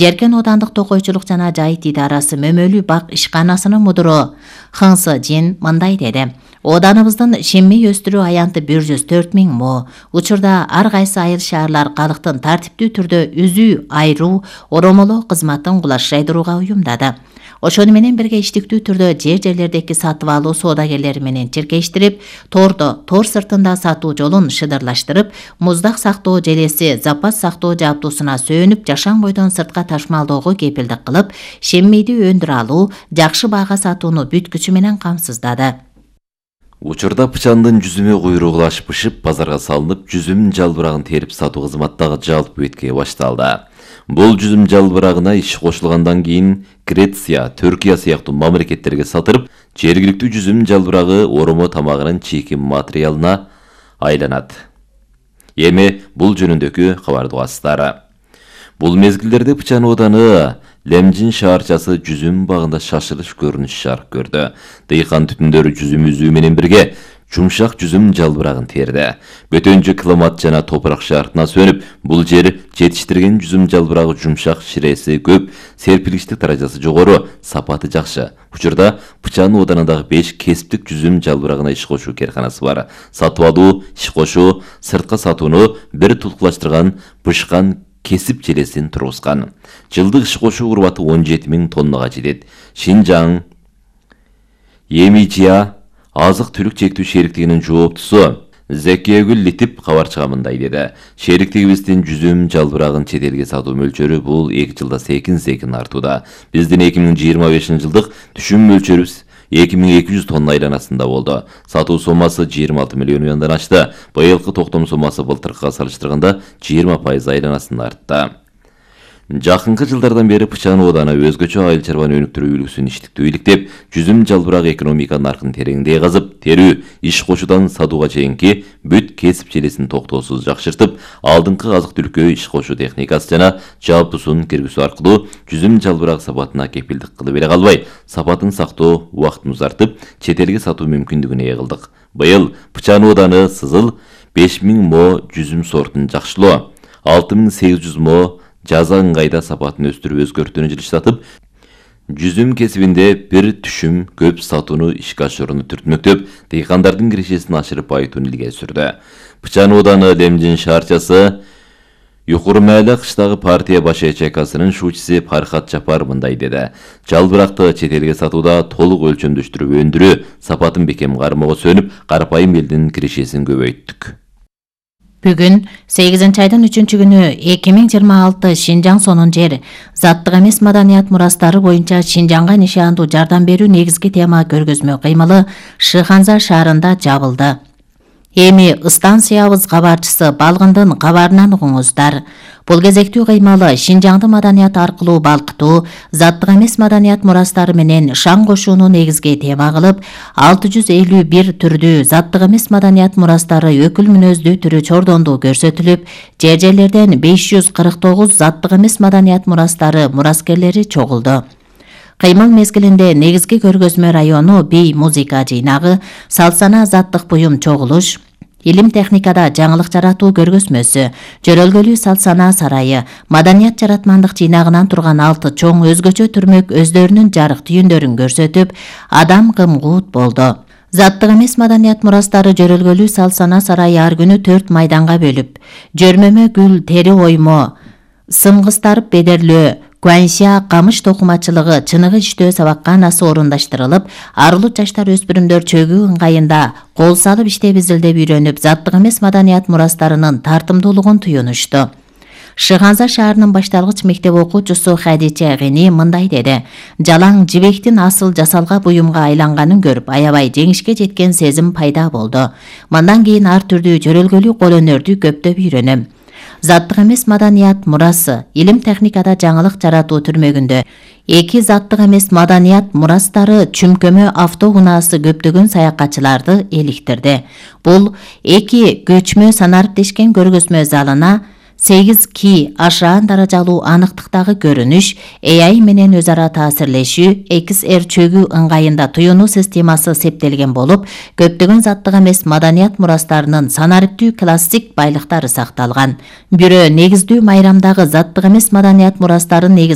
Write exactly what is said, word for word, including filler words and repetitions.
Жеркен Оодандык Токойчулук жана Жайыт идарасы мөмөлүү бак ишканасынын мудуру Хыңсы Жин мындай деди. Ооданыбыздын шеммей өстүрүү аянты бир жүз төрт миң мо. Учурда ар кайсы айыл шаарлар калктын тартиптүү түрдө үзүү, айруу, оромолоо кызматын кулаш жайдырууга уюмдады. Ошону менен бирге иштиктүү түрдө жер-жерлердеги сатып алуу соодагерлери менен чиркештирип, тордо, тор сыртында сатуу жолун шыдырлаштырып, муздак сактоо желеси, запас сактоо жабдуусуна сөөнүп, жашан бойдон сыртка ташмалоого кепилдик кылып, шеммейди өндүрө алуу, жакшы баага сатууну бүткүчү менен камсыздады. Учурда пычандын жүзүмү куйругулашып бышып, базарга салынып, жүзүм жалбырагын терип сатуу кызматтагы жалпы бетке башталды. Бул жүзүм жалбырагына иш кошулгандан кийин Греция, Түркия сыяктуу мамлекеттерге сатылып, жергиликтүү жүзүм жалбырагы оромо тамагынын чийки материалына айланат. Эми бул жөнүндөгү кабарды угасыздар. Бул мезгилдерде Пычан ооданы Лемжин шаарчасы жүзүм багында шашылыш көрүнүш жарык көрдү. Дыйкан түтүндөрү жүзүм үзүү менен бирге жумшак жүзүм жалбырагын терди. Бөтөнчө климат жана топурак шартына сөнүп, бул жер жетиштирген жүзүм жалбырагы жумшак, ширеси көп, серпилиштик даражасы жогору, сапаты жакшы. Учурда Пычан оодарындагы беш кесиптик жүзүм жалбырагына иш кошуу керканасы бар. Сатып алуу, иш кошуу, сыртка сатууну бир тулкулаштырган бышкан кесип желесин тургузган. Жылдык иш кошуу урбаты он жети миң тоннага жетет. Шинжаң Емичия азык-түлүк чектүү шериктигинин жооптусу Зекиегүл Литип кабарчыга мындай деди. Шериктигибиздин жүзүм жалбырагын чет элге сатуу мөлчөрү бул эки жылда секин-секин артууда. Биздин эки миң жыйырма бешинчи жылдык түшүм мөлчөрүбүз эки миң эки жүз тонна айланасында болду. Сатуу сомасы жыйырма алты миллион юандан ашты. Быйылкы токтом сомасы былтыркыга салыштырганда жыйырма пайыз айланасында артты. Жакынкы жылдардан бери Пычан ооданы өзгөчө айыл чарбаны өнүктүрүү үлгүсүн иштиктүү иликтеп, жүзүм жалбырак экономика наркын тереңдей казып, терүү, иш кошуудан сатууга чейинки бүт кесип желесин токтоосуз жакшыртып, алдыңкы азык-түлүккө иш кошуу техникасы жана жабдуусун киргизүү аркылуу жүзүм жалбырак сапатына кепилдик кылып эле калбай, сапатын сактоо убактын узартып, чет элге сатуу мүмкүндүгүнө ээ кылдык. Быйыл Пычан ооданы сызыл беш миң мо жүзүм сортун жакшылоо, алты миң сегиз жүз мо жаза ыңгайда сапатын өстүрүп өзгөртүүнү жылыштатып, жүзүм кесибинде бир түшүм көп сатууну ишке ашырууну түртмөктөп, дыйкандардын кирешесин ашырып байытууну илгери сүрдү. Пычан ооданы Лемжин шаарчасы Юкурмайлы кыштагы партия баш ячейкасынын шуучусы Пархат Жапар мындай деди. Жалбыракты чет элге сатууда толук өлчөмдөштүрүп өндүрүү, сапатын бекем кармоого сөнүп, карапайым элдин кирешесин көбөйттүк. Бүгүн сегизинчи айдын үчүнчү күнү эки миң жыйырма алты Шинжаң сонун жер заттык эмес маданият мурастары боюнча Шинжаңга нишандуу жардам берүү негизги тема көргөзмө кыймылы Шыханза шаарында жабылды. Эми станциябыз кабарчысы Балгындын кабарынан угуңуздар. Бул кезектүү кыймалы Шинжаңды маданият аркылуу балкытуу, заттык эмес маданият мурастары менен шаң кошууну негизги тема кылып, алты жүз элүү бир түрдүү заттык эмес маданият мурастары өкүл мүнөздүү түрү чордондуу көрсөтүлүп, жер-жерлерден беш жүз кырк тогуз заттык эмес маданият мурастары мураскерлери чогулду. Кыймыл мезгилинде негизги көргөзмө району бий музыка жыйнагы, салт-сана заттык буюм чогулуш, илим техникада жаңылык жаратуу көргөзмөсү, жөрөлгөлүү салт-сана сарайы, маданият жаратмандык жыйнагынан турган алты чоң өзгөчө түрмөк өздөрүнүн жарык түйүндөрүн көрсөтүп, адам кымгуут болду. Заттык эмес маданият мурастары жөрөлгөлүү салт-сана сарайы ар күнү төрт майданга бөлүп, жөрмөмө гүл тери оймо, сымгыстарып бедерлөө, Куанша камыш токумачылыгы, чыныгы иштөө сабакканасы орундаштырылып, арылуу жаштар өспүрүмдөр чөгүү ыңгайында кол салып иштеп изилдеп үйрөнүп, заттык эмес маданият мурастарынын тартымдуулугун туюнушту. Шыханза шаарынын башталгыч мектеп окуучусу Хадича Гени мындай деди. Жалаң жибектин асыл жасалга буюмга айланганын көрүп, аябай жеңишке жеткен сезим пайда болду. Мындан кийин ар түрдүү жөрөлгөлүү кол өнөрдү көптөп үйрөнөм. Заттык эмес маданият мурасы илим техникада жаңылык жаратуу түрмөгүндө эки заттык эмес маданият мурастары чүмкөмө автоунаасы көптөгөн саякатчыларды эликтирди. Бул эки көчмө санариптешкен көргөзмө залына сегиз ки ашаан даражалуу аныктыктагы көрүнүш, A I менен өз ара таасирлешүү, X R чөгү ыңгайында туюнуу системасы септелген болуп, көптөгөн заттык эмес маданият мурастарынын санариптүү классик байлыктары сакталган. Бирөө негиздүү майрамдагы заттык эмес маданият мурастарын негиз